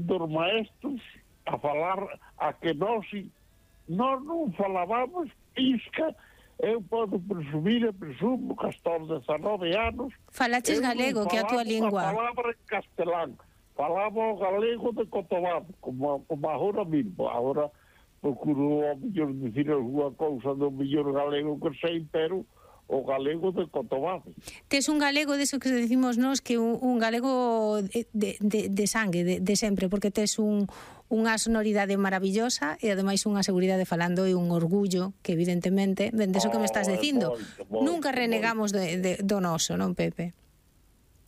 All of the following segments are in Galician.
dos maestros a falar a que nós non falábamos pisca. Eu podo presumir e presumo que hasta os 19 anos Falaches galego, que é a tua lingua. Eu falaba en castelán, falaba o galego de Cotobado, como agora mesmo. Agora procuro ao mellor dicir alguna cousa do mellor galego que sei, pero o galego de Cotobado. Tes un galego deso que decimos nós, que un galego de sangue, de sempre, porque tes unha sonoridade maravillosa e ademais unha seguridade falando e un orgullo que evidentemente, deso que me estás dicindo, nunca renegamos do noso, non, Pepe?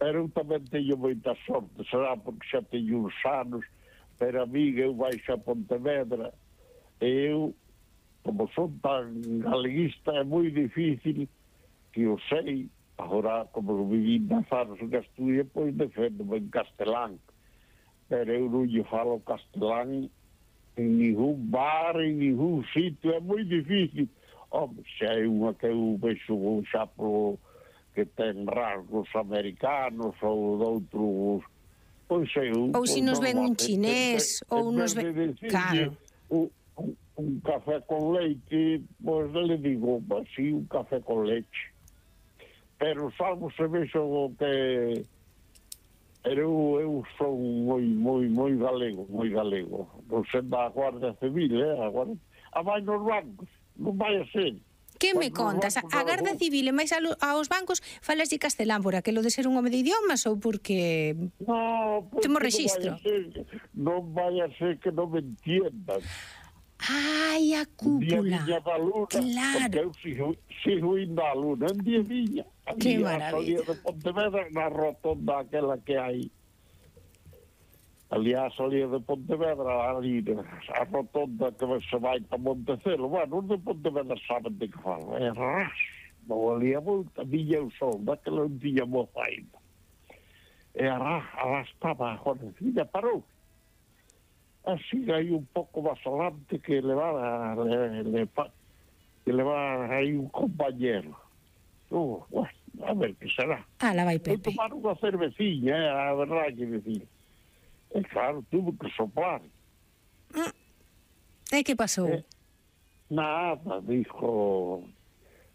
Pero eu tamén teño moita sorte, será porque xa teño uns anos, pero a mí eu baixo a Pontevedra e eu, como son tan galeguista, é moi difícil que eu sei, agora como viví nas anos en Asturias, pois defendo-me en castelán, pero eu non lle falo castelán en ningún bar, en ningún sitio, é moi difícil. Home, xa é unha que eu vexo xa polo que ten rasgos americanos ou de outros, pois eu... Ou se nos ven un chinés, ou nos ven... Claro. Un café con leite, pois le digo, así, un café con leite. Pero salvo se vexo que... Eu son moi galego, moi galego. Non sendo a Guardia Civil, agora... A vai nos bancos, non vai a ser. Que me contas? A Garda Civil e máis aos bancos falas de castelán por aquilo de ser un home de idiomas ou porque temos rexistro? Non vai a ser que non me entiendan. Ai, a cúpula. Claro. Porque eu sigo indo á luna. En día viña. Que maravilla. Salía de Pontevedra na rotonda aquela que hai. Aliás, salía de Pontevedra ali, a rotonda que se vai para Montecelo. Bueno, os de Pontevedra saben de que falo. É ras. Non ali a volta, viña o sol, daquela non tiña moza ainda. E arrastaba a Jornecina, parou. Así hai un pouco máis alante que leva aí un compañero. Bueno, a ver que será. La vai Pepe. Vou tomar unha cerveciña, a verdade que decir. E claro, tuve que soplar. E que pasou? Nada, dijo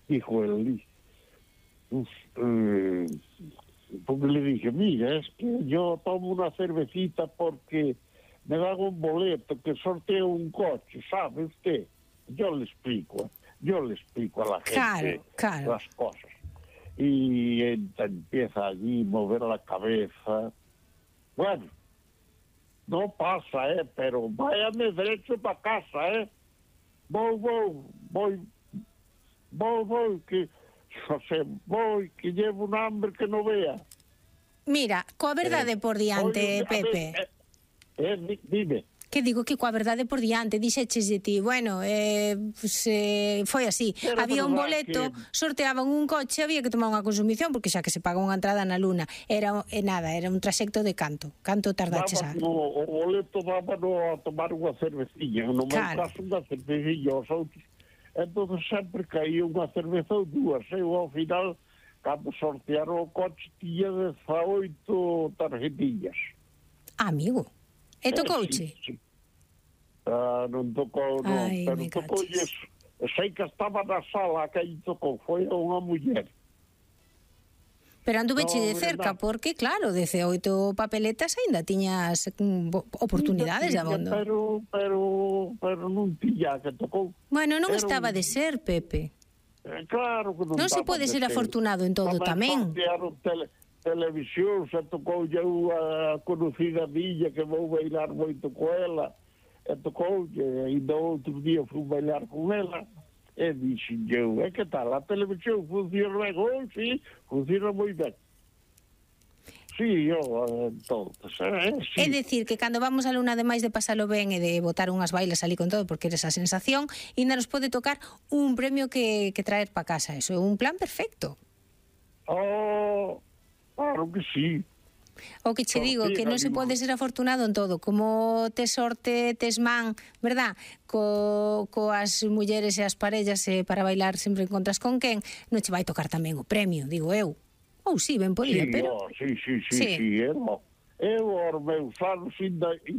el porque le dije, mira, es que yo tomo una cervecita porque me dan un boleto que sorteo un coche, ¿sabe usted? Yo le explico a la gente las cosas. Y empieza allí a mover la cabeza. Bueno, no pasa, pero váyame derecho para casa, Voy, que llevo un hambre que no vea. Mira, coa verdade por diante, Pepe. Dime. Que digo que coa verdade por diante, dixeches de ti, bueno, foi así. Pero había un boleto, sorteaban un coche, había que tomar unha consumición, porque xa que se paga unha entrada na luna, era un traxecto de canto tardaches a... O boleto dábano a tomar unha cervecilla, no meu caso unha cervecilla, os outros. Entón sempre caía unha cerveza ou dúas, eu ao final, cando sortearon o coche, tiña 18 tarjetillas. Amigo, e tocouche? Sí. Non tocou, non, pero tocoulle, sei que estaba na sala que aí tocou, foi unha muller. Pero anduveche de cerca, porque claro, 18 papeletas aínda tiñas oportunidades de abondo. Pero non tiña que tocou. Bueno, non estaba de ser, Pepe. Claro que non. Non se pode ser afortunado en todo tamén. Televisión, se tocou ya unha conocida miña que vou bailar moito con ela, e tocou, e ainda outro día fui bailar con ela, e dixen eu, que tal, a televisión funciona ben? Sí, funciona moi ben. Sí, entonces, sí. É dicir, que cando vamos a luna, ademais de pasalo ben e de botar unhas bailas ali con todo, porque eres a sensación, ainda nos pode tocar un premio que traer pa casa. Eso é un plan perfecto. Claro que sí. O que che digo, que non se pode ser afortunado en todo. Como tes sorte, tes man, verdad? Coas mulleres e as parellas para bailar sempre encontras con quen, non che vai tocar tamén o premio, digo eu. Ou sí, ben podía, pero... Sí, eu, aos meus anos,